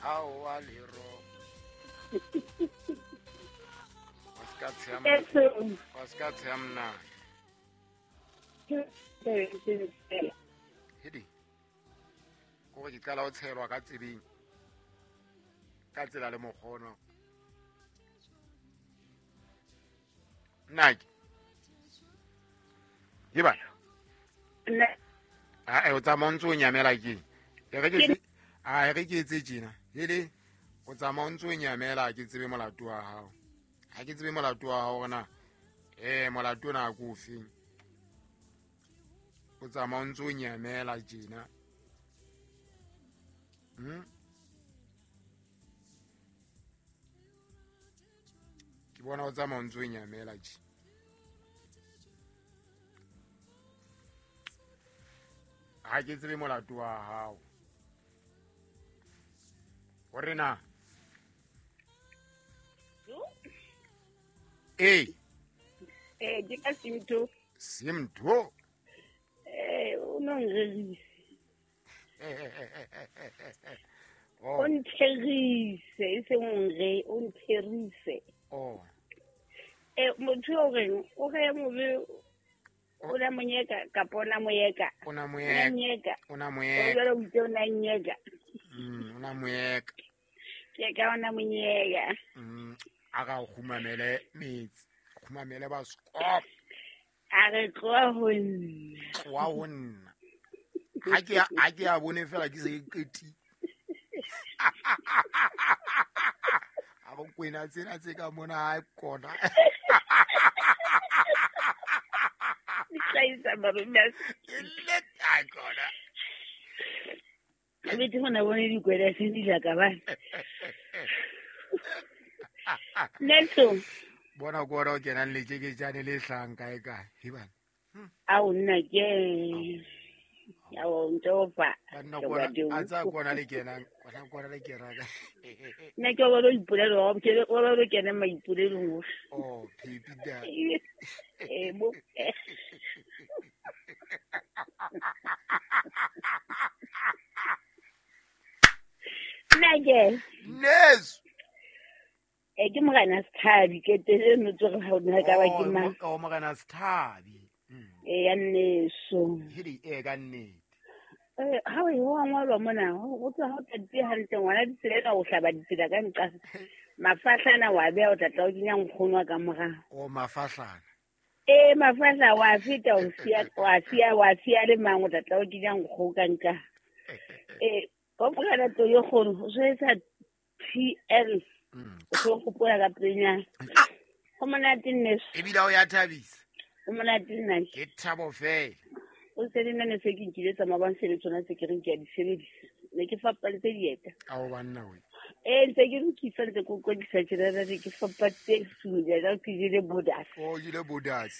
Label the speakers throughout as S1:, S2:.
S1: Aowa lero. Wa se ka tsheya wa se ka tsheya mnane. Hedi. Kore ke qala ho tshelwa ka tsebeng. Ka tsela le mokgono. Nnake. Ke bana. Ae o tsamaya o ntse o nyamela keng? E re ke a e re ke etse tjena. Hele o tsamaya o ntse o nyamela ke tsebe molato wa hao. Ha ke tsebe molato wa hao hore na molato ona ke o feng. O tsamaya o ntse o nyamela tjena. Ke bona o tsamaya o ntse o nyamela tje. Ha ke tsebe molato wa hao. Hore na ee
S2: Ee, ke ka Simtho.
S1: Simtho.
S2: Ee, o no nrerise. O ntherise, e seng o nre, o ntherise.
S1: Oh.
S2: Eh, motho o reng, o re mobe o na monyeka kapa o na moyeka.
S1: O na moyeka.
S2: O na moyeka. O jwale o itse o na nyeka.
S1: O na moyeka.
S2: Ke ka o na monyeka.
S1: A ga o khumamele metsi. Khumamele ba skop.
S2: A re tloa ho nna.
S1: Tloa ho nna. Ha ke a bone fela ke se ke qeti. A go kwena tsena tse ka mona ha kona.
S2: Tlaisa marume.
S1: Le ta kona.
S2: Ke bete hona bone dikwela se di ja ka ba. Nelson.
S1: Bona go ra o kenang le tjeketjane le hlang kae kae. Hibana.
S2: Ao nna ke. Ao ntopa.
S1: Banna kona a tsa kona le kenang, kona kona le keraka.
S2: Nna ke wa lo ipolelo, wa ke wa lo kena maipolelong.
S1: Oh, pipi da.
S2: Eh bo. Nna ke.
S1: Nes.
S2: E ke morena Sethabi ke tele no tsore ha o nna ka ba ke mang.
S1: Oh, morena Sethabi.
S2: E ya nneso.
S1: Hedi e ka nnete.
S2: Ha o e wa ngwalwa mona, o tswa ha o tatile hantle ngwana ditsela ena o hlaba ditsela ka nqa. Mafahlana wa beha o tla tla o kenya nkgono wa ka morao.
S1: O mafahlana.
S2: Eh mafahla wa feta o siya wa siya wa siya le mang o tla tla o kenya nkgo ka nqa. Eh go morena to yo kgono o swetsa TL. O tlo gopola ka pelenyana. Go monate nneso.
S1: Ebile o ya thabisa.
S2: O monate nna.
S1: Ke thabo fela.
S2: O se le nna ne se ke nkile tsa mabang se le tsona tse ke reng ke a di sebedisa. Ne ke fapantse dieta.
S1: Ao banna we.
S2: Eh ntse ke lokisa ntse ke kwetlisa tjena ke fapantse sunya ka ke jele bodas.
S1: O jele bodas.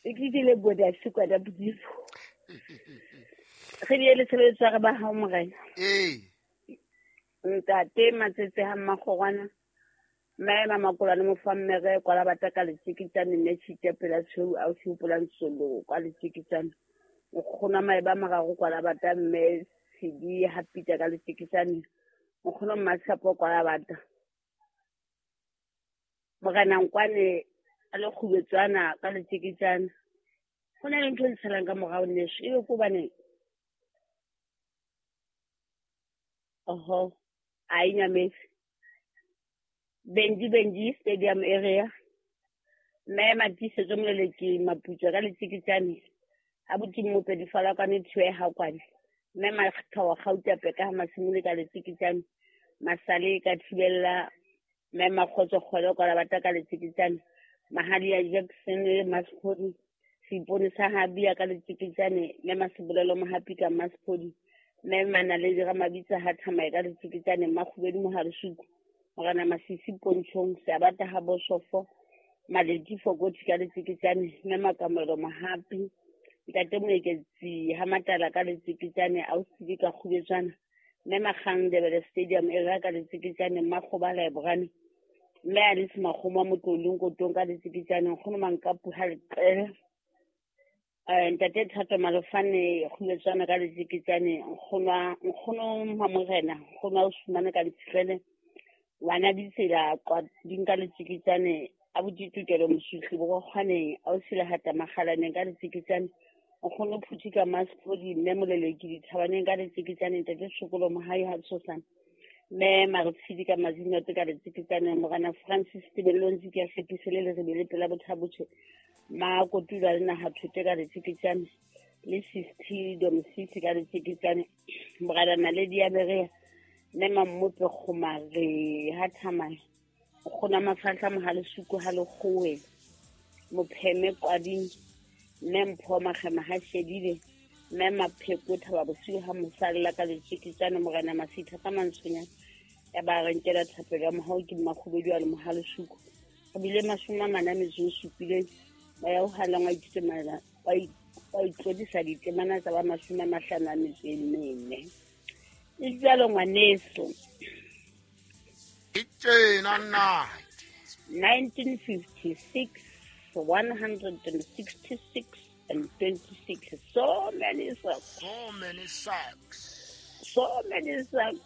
S2: Ke jele bodas kwa da bodimo. Re di le tshebeletso re ba ha morena.
S1: Ee.
S2: Ntate Matsetse ha Mmakgorwana. Mme Mamakolwane Mofammere kwa la bataka letjeketjane mme tshite pela tshweu a o hopolang solo kwa letjeketjane. Nkgono maeba mararo kwa la bata mme Tshidi ha pita ka letjeketjane. Nkgono Mmatshepo kwa la bata. Morena Nkwane a le kgubetswana ka letjeketjane. Ho na le ntho e ntshelang ka morao nneso ebe ko bane. Oho, a inyametse. Benji Stadium area. Mme Matisetso Moleleki Maputswa ka letjeketjane. Abuti Mmope difala kwane thiwe ha kwane. Mme Makgathawa Gauta Peka ha Masimole ka letjeketjane. Masale ka thibella mme Makgotso Kgwele kwa la bata ka letjeketjane. Mahadi ya Jackson le Masphodi. Seipone sa Habia ka letjeketjane. Mme Masebolelo Mohapi ka Masphodi. Mme Manaledi Ramabitsa ha Thamae ka letjeketjane. Makgubedi Moharesuku. Morena Masisi Pontshong Seabata ha Bosofo Maledi Fokothi ka letjeketjane. Mme Makamelo Mohapi. Ntate Moeketsi ha Matala ka letjeketjane. Ausi ka kgubetswana. Mme Makgang Ndebele Stadium area ka letjeketjane. Mmakgoba Library. Mme Alice Makgomo Motlolong Kotong ka letjeketjane. Nkgono Mankapu ha Leqele. Ntate Thato Malofane Kgumetswana ka Letjeketjane, nkgono Mamorena, nkgono wa Osumane ka Ntshitlele, ngwana ditsela kwa dinka Letjeketjane, abuti Tokelo Mosutli Borokgwaneng, ausi Lehata Makgalaneng ka Letjeketjane, nkgono Phuthi ka Masepodi, mme Moleleki Dithabaneng ka Letjeketjane, ntate Tshokolo Mohai ha Tshosana, mme Maretshidi ka Mazinote ka Letjeketjane, morena Francis Tebello ntse ke a hlekise le lerebe le pela bothabotjhe, Makotula le naha thote ka Letjeketjane, le Sisti Domsisi ka Letjeketjane, morena Naledi ya Berea, mme Mammope Kgomare ha Thamane, nkgono Mafahla Mohale Suku ha Lekgowe, Mopheme Kwading, mme Mpho Makgema ha Shedile, mme Mapheko Thaba Bosiu ha Mosalla ka Letjeketjane, morena Masitha ka Mantsonyane, ya ba re nkela thapelo ya mohau ke Mmakgobedu a le Mohale Suku. Re bile 47 ba ya ho halang wa ithuta wa itlodisa ditemana tsa ba 54. E jwalo ngwaneso.
S1: E tjena nna.
S2: 1956, 166 and 26. So many socks.
S1: So many socks.
S2: So many socks.